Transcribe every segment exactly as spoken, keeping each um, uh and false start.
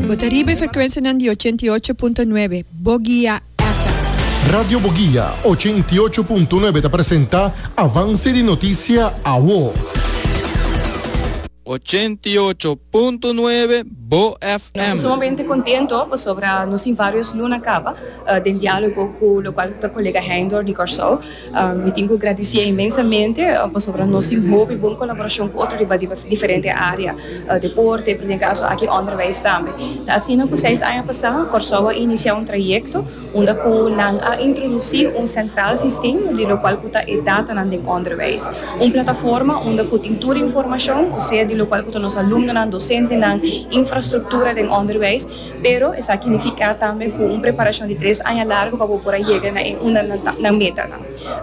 Bo ta riba frekuensia di ochenta i ocho punto nuebe, Boguia F M. Radio Boguia ochenta i ocho punto nuebe ta presentá Avanse di Notisia Awo. ochenta i ocho punto nuebe Bo Nos ta F M. sumamente kontentu pasobra nos tin vários luna kaba uh, den diálogo ku lokual ta kolega Heindor di Kòrsou. Um, mi tin ku gradisí inmensamente uh, pasobra nos tin hopi bon kolaborashon ku otro riba diferente área, uh, deporte, den kaso aki onderwijs tambe. Asina ku seis aña pasá, Kòrsou a inisiá un trayekto unda ku nan a introdusí un centraal systeem di lokual ku ta e data den onderwijs. Un plataforma unda ku tin tur informashon, osea di lokual ku nos alumnonan, dosentenan, infrastruktura den onderwijs, pero esaki ta nifiká tambe ku un preparashon di tres aña largu pa por yega na un na meta.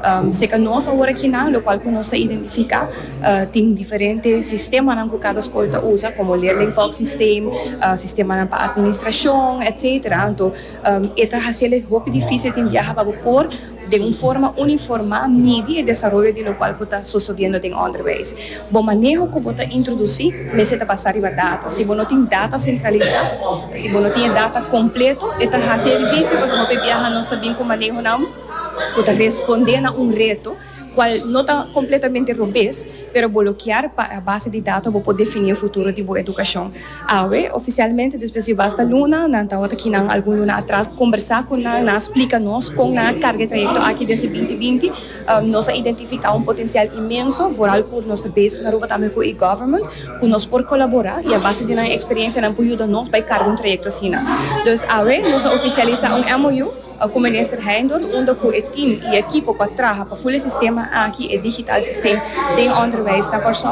Um, serka nos awor aki na, lokual ku nos a identifiká, uh, tin diferente sistema ku kada skol ta usa, komo leerlingvolgsysteem, uh, sistema pa atministrashon, et cetera. Anto, um, ta hasi hopi difísil tin biaha pa por di un forma uniforme midi e desaroyo di lokual ta susediendo den onderwijs. Bo maneho ku bo ta introdusí, mester ta basá riba data. Si bo no tin data sentralisá, si bo no tin data kompleto, ta hasi difísil, pasobra hopi biaha nos ta bin ku manehonan ku ta respondé na un reto kual no ta kompletamente robes, pero bo ke pa a base di data bo por definí e futuro di bo edukashon. Awe, ofisialmente, despues di basta luna, nan tabata aki nan algun luna atras, kombersá ku nan, nan splika nos kon nan a karga e trayekto aki desde dos mil binti, um, nos a identifiká un potensial inmenso, vooral ku nos ta bezig na Aruba tambe ku e-government, ku nos por kolaborá i a base di nan eksperensia nan por yuda nos pa karga un trayekto asina. Dus awe, nos a ofisialisá un M O U ku minister Heindor, unda ku e team i ekipo ku a traha pa full sistema aki, e digitaal systeem den onderwijs na Kòrsou.